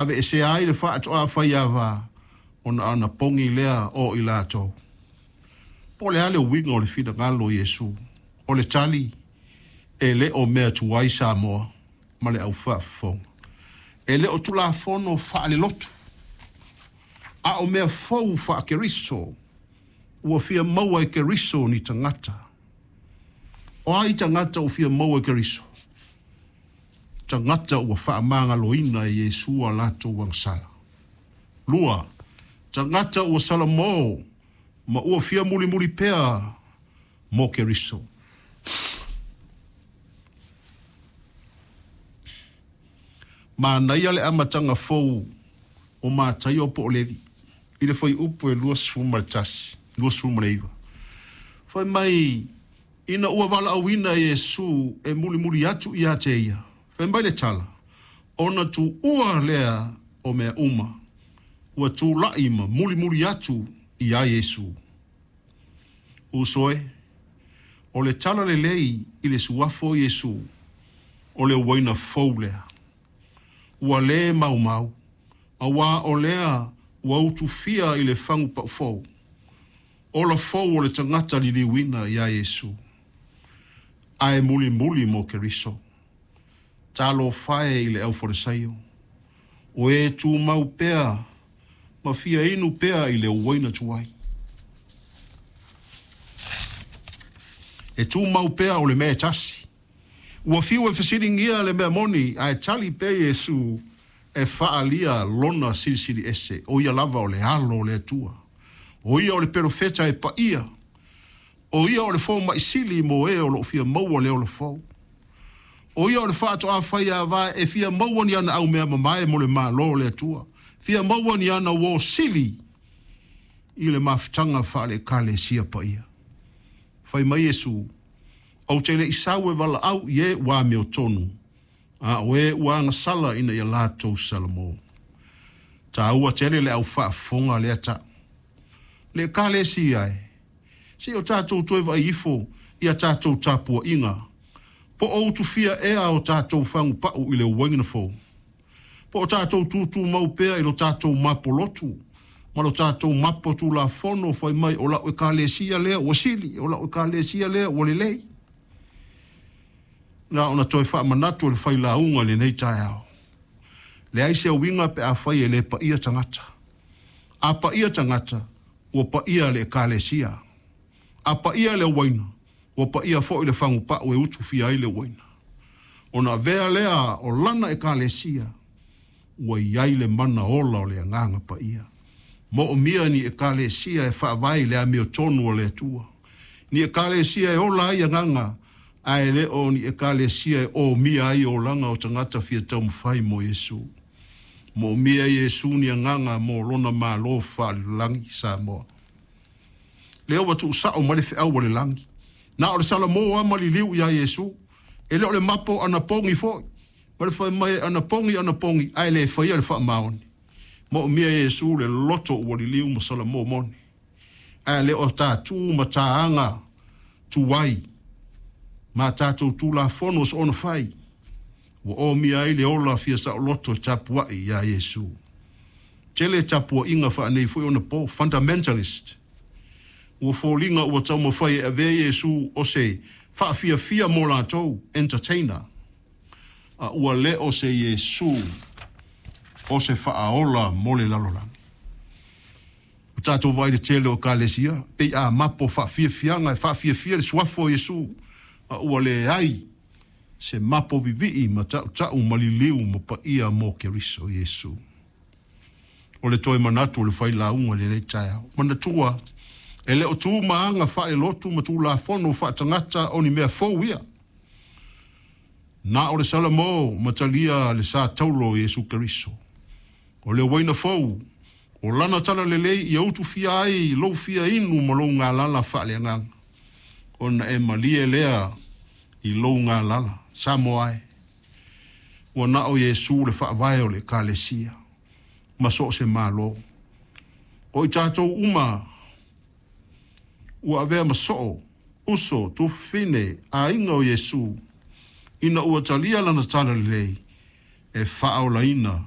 Aveesea ai le faatoa faiava ona anapogi lea o i latou. Po o le a le uiga o le finagalo o Iesu? O le tali, e le o mea tuai Samoa ma le au faafofoga. E le o Tulafono faalelotu, a o mea fou faa-Keriso ua fia maua e Keriso ni tagata. O ai tagata ua fia maua e Keriso? Tagata ua faamagaloina e Iesu a latou agasala. 2, tagata ua salamo ma ua fia mulimuli pea mo Keriso. Manaia le amataga fou o Mataio po o Levi i le fuaiupu e 21, 29. Fai mai, ina ua valaauina e Iesu e mulimuli atu ia te ia, fai mai le tala, ona tuua lea o mea uma, ua tulai ma mulimuli atu ia Iesu. Uso e, o le tala lelei i le suafa o Iesu, o le uaina fou lea. Ua le maumau, auā o lea ua utufia i le fagu paufou, ola fou o le tagata liliuina iā Iesu, ae mulimuli mo Keriso. Talofa e i le aufalesaio, o e tumau pea ma fia inu pea i le uaina tuai. E tumau pea o le mea e tasi. Ua fiu e fesiligia le mea moni, ae tali pea Iesu e faaalia lona silisili ese, o ia lava o le Alo o le Atua, o ia o le Perofeta e paia, o ia o le Fomai Sili mo e o lo o fia maua le ola fou, o ia o le faatoa faiava e fia maua ni ana aumea mamae mo le Malo o le Atua, fia maua ni ana uo sili i le mafutaga faale-Ekalesia paia. Fai mai Iesu, Ou te le i sau e valaau i e ua amiotonu, a o e ua agasala ina ia latou salamo. Taua tele le au faafofoga lea tau. Le Ekalesia e, se i o tatou toe vaai ifo i a tatou tapuaiga, po o utufia ea o tatou fagupau i le uaina fou, po o tatou tutumau pea i lo tatou mapolotu ma lo tatou mapo tulafono fai mai o lau Ekalesia lea ua sili, o lau Ekalesia lea ua lelei. Na ona toe faamanatu e le failauga i lenei taeao. Leai se uiga pe afai e le paia tagata. A paia tagata, ua paia le Ekalesia. A paia le uaina, ua paia foi le fagupau e utufia ai le uaina. Ona avea lea o lana Ekalesia, ua i ai le mana ola o le Agaga Paia. Moomia ni Ekalesia e faavae i le amiotonu a le Atua. Ni Ekalesia e ola ai agaga, ae le o ni Ekalesia e omia ai olaga o tagata fia taumafai mo Iesu. Moomia Iesu ni agaga mo lona Malo faalelagi Samoa. Lea ua tuusao mai le feau a le lagi. Na o le salamo lava ma liliu iā Iesu. E le o le mapo anapogi foi, ma le fai mai e anapogi anapogi ae le faia le faamaoni. Moomia Iesu le loto ua liliu ma salamo moni, ae le o ta tu ma ta aga tuai ma tatou Tulafono soona fai ua omia ai le ola fia saoloto e tapuai iā Iesu. Tele tapuaiga faanei foi ona po, fundamentalist, ua foliga ua taumafai e avea Iesu o se faafiafia mo latou, entertainer, a ua le o se Iesu o se faaola mo le lalolagi. Ua tatou vaai i le tele o Ekalesia, pei a mapo faafiafiaga e faafiafia le suafa o Iesu, a ua leai se mapo vivii ma tautau ma liliu ma paia mo Keriso Iesu. O le toe manatu o le failauga i lenei taeao. Manatua, e le o tu ma aga faalelotu ma tulafono faatagata o ni mea fou ia. Na o le salamo ma talia le sa taulo o Iesu Keriso. O le uaina fou, o lana tala lelei ia utufia ai lou fia inu ma lou galala faaleagaga, ona e malie lea i lou galala. Samoa e, ua na o Iesu le faavae o le Ekalesia ma so o se Malo. O i tatou uma ua avea ma soo, uso, tuafafine, aiga o Iesu, ina ua talia lana tala lelei e faaolaina.